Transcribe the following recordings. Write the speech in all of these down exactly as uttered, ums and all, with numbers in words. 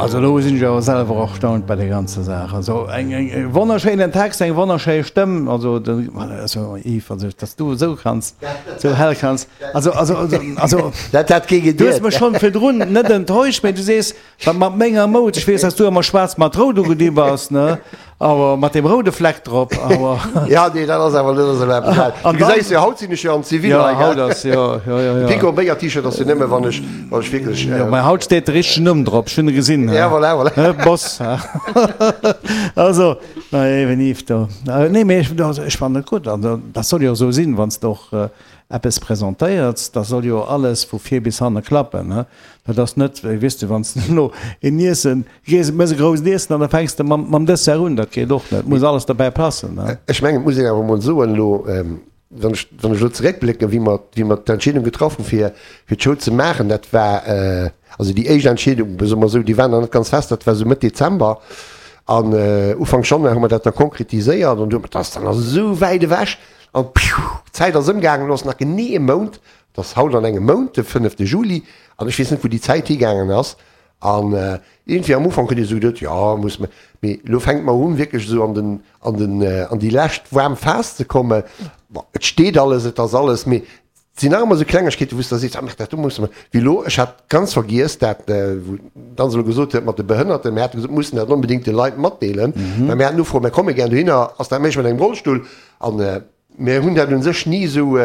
Also elo sinn ech awer selwer erstaunt bei der ganzer Saach. Also eng eng e wonnerschéinen Text, eng wonnerschéi Stëmm, also de also Yves, also dass du esou kanns, esou hell kanns, also also also also Dat hat kee du hues geduet. mech schonn virdrun net enttäuscht, mee du sees, wat mat menger Moud, ech weess, dass du ëmmer schwaarz mat rout ugedi bass, ne, awer mat deem roude Fleck drop, awer. Ja, nee, dat ass awer net esou eppes. Du An dann, gesäis jo, haut sinn ech jo am Zivil jo, hei, haut gell? ass, jo, jo, jo, De jo. Pico Béier T-Shirt ass jo nëmme wann ech, wann ech wierklech, Jo, mä haut steet de richtegen Numm drop, ech hunn e gesinn, Ja, voilà, voilà. he, Boss, he. Also, na eben Yves, do, nee, mee ech, also ech fannen et gutt, an dat soll jo esou sinn, wann s de och eppes presentéierts, da soll jo alles vu vir bis hanne klappen, he. Dat ass net wéi, weess de, wann s de elo een Iessen, gees, méchs e grousst Iessen an da fänks de mam, mam Dessert un, dat geet och net, muss alles derbäi passen, he. Ech mengen, et muss een awer emol soen elo, wann ech, wann ech elo zeréckblécken, wéi mer, wéi mer d'Entscheedung getraff hunn, fir, fir d'Show ze maachen, dat war, also déi éischt Entscheedung, soe mer esou, déi war nach net ganz fest, dat war esou Mëtt Dezember an Ufank Januar hu mer dat da konkretiséiert an du, dat ass dann nach esou wäit ewech an piu, d'Zäit ass ëmgaangen, elo ass nach genee e Mount, et ass haut an engem Mount, de fënnefte Juli an ech weess net, wou déi Zäit higaangen ass. An iergendwéi am Ufank huet ee sou geduet, jo, muss mer, mee elo fänkt mer un, wierklech esou an den, an den, an déi lescht waarm Phas ze kommen. Bon, et steet alles, et ass alles, mee et sinn nach ëmmer esou Klengegkeeten, wou s de da sees, ah, dat do musse mer, wéi elo, ech hat ganz vergiess, dat, wou d'Anse elo gesot huet mat de Behënnerten, mir hate gesot, mir mussen dat onbedéngt de Leit matdeelen, well mir haten Ufroen, mir komme gär dohinner, ass dat méiglech mat engem Rollstull? An mir hunn dat u sech ni esou,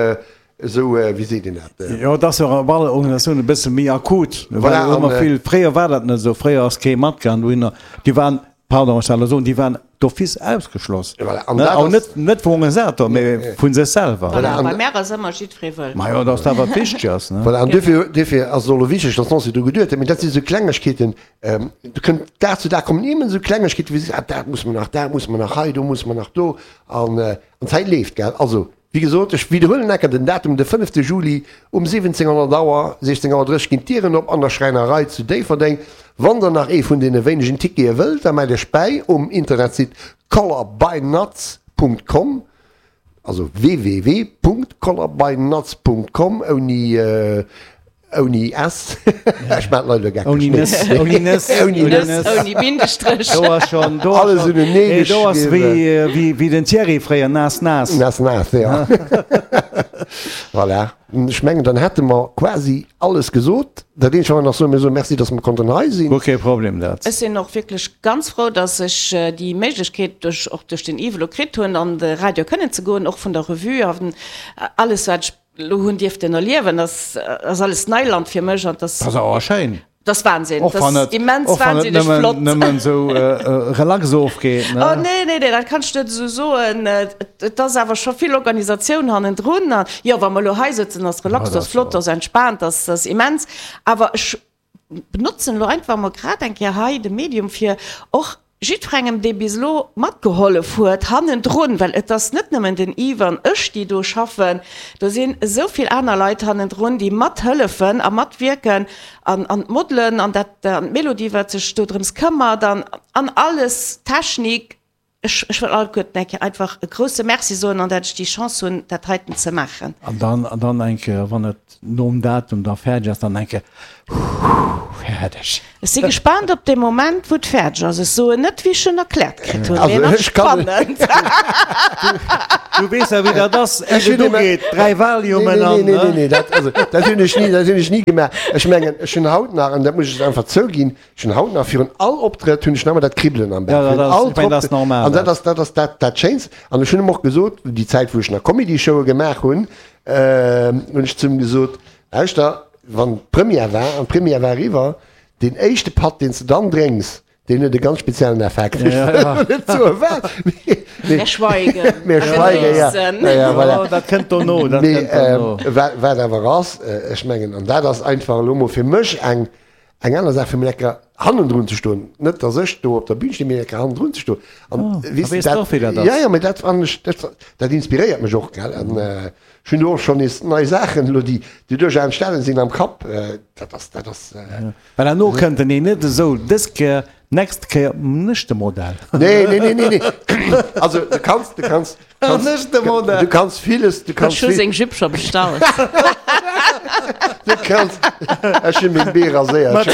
esou, wéi seet een dat? Jo, et ass jo och op alle Organisatiounen e bësse méi akut, well Voilà, ëmmer an, vill, fréier war dat net esou, fréier ass kee matgaangen dohinner, déi waren, pardon, ech soll elo soen, déi waren d'office ausgeschloss, Voilà, an ne, dat awer ass, net, net vum Organisator, mee vu sech selwer. Voilà, Voilà, an, bei mär ass ëmmer jiddweree wëllkomm. Majo, datt dat wat wichteg ass, ne. voilà, an Genau. duerfir, duerfir ass et och elo wichteg, datt d'Nancy dru geduet huet, mee dat si sou Klengegkeeten, do kënnt Dag zu Dag kommen immens esou Klengegkeeten, wou se seet, ah, dat musse mer nach, dat musse mer nach hei, do musse mer nach do, an, an d'Zäit leeft, gell. Also, Wéi gesot, ech widderhuelen enker den Datum, de fënnefte Juli um siwwenzéng honnert Auer, siechzéng Auer drësseg ginn d'Dieren op an der Schräinerei zu Déifferdeng. Wann der nach ee vun deene wéinegen Tickete wëllt, da mellt iech bäi um Internetsite colorbynatz Punkt com, also www Punkt colorbynatz Punkt com ouni Ouni S. Ech maan d'Leit elo geckeg. Ouni Nëss, ouni Nëss, Ouni ouni Nëss. Nëss. Ouni Bindestréch. Do ass schon, do ass Alles schon, unenee nee, do ass geschriwwen. wéi, wéi, wéi den Thierry fréier, naass, naass. Naass, naass, ja. Voilà. Ech mengen, dann hätte mer quasi alles gesot. Dat eenzegt, wat mer nach soen, mir soe Merci, dass mer konnten hei sinn. Guer kee Problem, dat. Ech sinn och wierklech ganz frou, dass ech déi Méiglechkeet duerch, och duerch den Yves elo kritt hunn, an de Radio kënnen ze goen, och vun der Revue an alles, wat ech Lo hunn dierften erliewen, ass ass alles Neiland fir mech an Das ass awer schéin. Das Wahnsinn, Och wann das et, immens och wann et wahnsinneg nëmmen, flott. nëmmen esou relax ofgeet, ne? Oh nee, nee, nee, dat kanns du net esou soen. Et ass awer scho vill Organisatioun hannendrun. An jo, wa mer elo hei sëtzen, ass Ja, relax, dat ass ass flott, jo. ass entspaant, ass ass immens. Awer ech benotzen elo einfach mol grad eng Kéier hei de Medium, fir och Jiddwerengem, dee bis elo matgehollef huet hannendrun, well et ass net nëmmen den Yves an ech, déi do schaffen, do sinn esou vill aner Leit hannendrun, déi mathëllefen a matwierken an an d'Modelen an dat an d'Mélodie, wat sech do drëms këmmert an an alles, d'Technik. Ech ech wëll alleguerten eng Kéier einfach e grouse Merci soen an dat ech déi Chance hunn, dat heiten ze maachen. An dann an dann eng Kéier, wann et nom Datum da fäerdeg ass, dann eng Kéier, Huuh, fäerdeg. Ech si gespaant op dee Moment, wou et fäerdeg ass. Ech soen net, wéi ech en erkläert kritt hunn, mee Also en ass ech kann. spannend. Du weess ja, wéi dat ass, Ech éier et hunn ugeet, dräi Nee, Valiumen nee, an, nee, nee, ne? nee, dat, also, dat hunn ech ni, dat hunn ech ni gemaach. Ech mengen, ech hunn haut nach, an dat muss ech einfach zouginn, ech hunn haut nach virun all Optrëtt hunn ech nach ëmmer dat Kribbelen am Bauch. Ja, dat Virun ass, all ech mengen, dat ass Optrëtt. normal, An dat dat. ass, dat ass dat, dat Schéinst. An ech hunn em och gesot, déi Zäit, wou ech nach Comedy-Showe gemaach hunn, hunn ech zu em gesot, Lauschter, wann d'Première war, an d'Première war eriwwer, deen éischte Patt, deen s de dann drénks, deen huet e ganz speziellen Effekt. Ech Ja, wëll ja. elo net soen, wat, mee, mee, Mir schweigen mir a schweigen, ja. genéissen. Ja, ja, voilà. Jo, dat kënnt dono, dat Mee kënnt dono. wat, wat awer ass, ech mengen, an dat ass einfach elo mol fir mech eng, eng aner Saach, fir mol lecker hannendrun ze stoen. Net, dass ech do op der Bühn stinn, mee lecker hannendrun ze stoen. An Oh, da weess de, weess de dat, och, wéi dat ja, ass. ja, mee dat fannen ech, dat, dat inspiréiert mech och, gell. An ech hunn do och schonn nees nei Saachen elo, déi, déi duerchaus entstanen sinn am Kapp. Dat ass, dat ass. Well herno kënnt en een net esou, dës Kéier, nächst Kéier nächste Modell. Nee, nee, nee, nee, nee. Also du kanns, du kanns, kanns, Nächste Modell. du kanns villes, du kanns Ech hu vill, seng Jupe scho bestallt. du kanns, ech hunn meng Bee raséiert.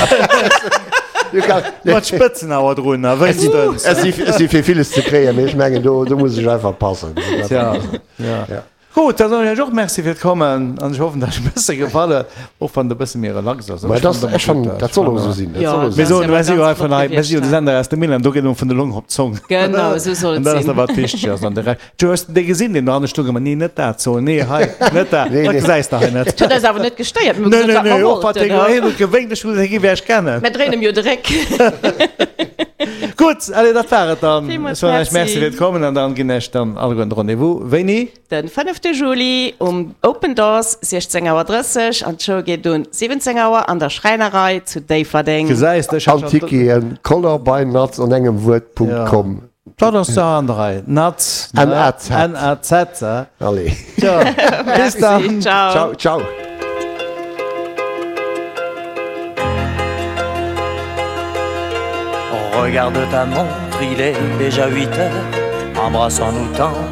Mat Spëtzen awer drun, a wéinstens. Ech si, ech si fir villes ze kréien, mee ech mengen, do, do muss ech einfach passen. Tja, ja. Ja. Gutt, da soen ech iech och Merci fir d'Kommen an ech hoffen, dass et e bësse gefall huet, och wann et e bësse méi relax ass. Mä dat, ech fannen, dat soll och esou sinn. Dat Jo, soll och Mir esou dat sinn. ass soen, jo mir si jo ganz hei vun flott hei, mir si jo de gewiescht, Sender aus dem Milan, do geet et vun der Long op d'Zong. Genau, esou soll An et dat ass sinn. da wat wichteg ass. An de Rescht, du hues dee gesinn, deen do hanne stoung, ëmmer, nee, net dat soen, nee, hei, net dat, Nee, dat nee. gesäis de hei net. Dat huet eis awer net gestéiert, mir hu Nee, gesot, nee, wat mer nee, och wat wollten, dee ne? hien huet gewénkt, ech hu gesot, hie géif iech kennen. Mir dréinen em jo de Réck. Gutt, allez, dat war et dann. Villmools Ech soen iech Merci. Merci fir d'Kommen an dann ginn ech dann alleguerten de Rendez-vous. Wéini? Den fënnefte Juli um Open Doors, siechzéng Auer drësseg an d'Show geet un siwwenzéng Auer an der Schräinerei zu Déifferdeng. Gesäis de, ech hat An schon. Ticketen color by Naz an engem Wuert Punkt com. Dat ass der an der Rei. Naz, N A Z. N A Z. Allez. Tja, bis Merci, dann. ciao. Ciao, ciao. Regarde ta montre, il est déjà huit heures. Embrassons-nous tendre.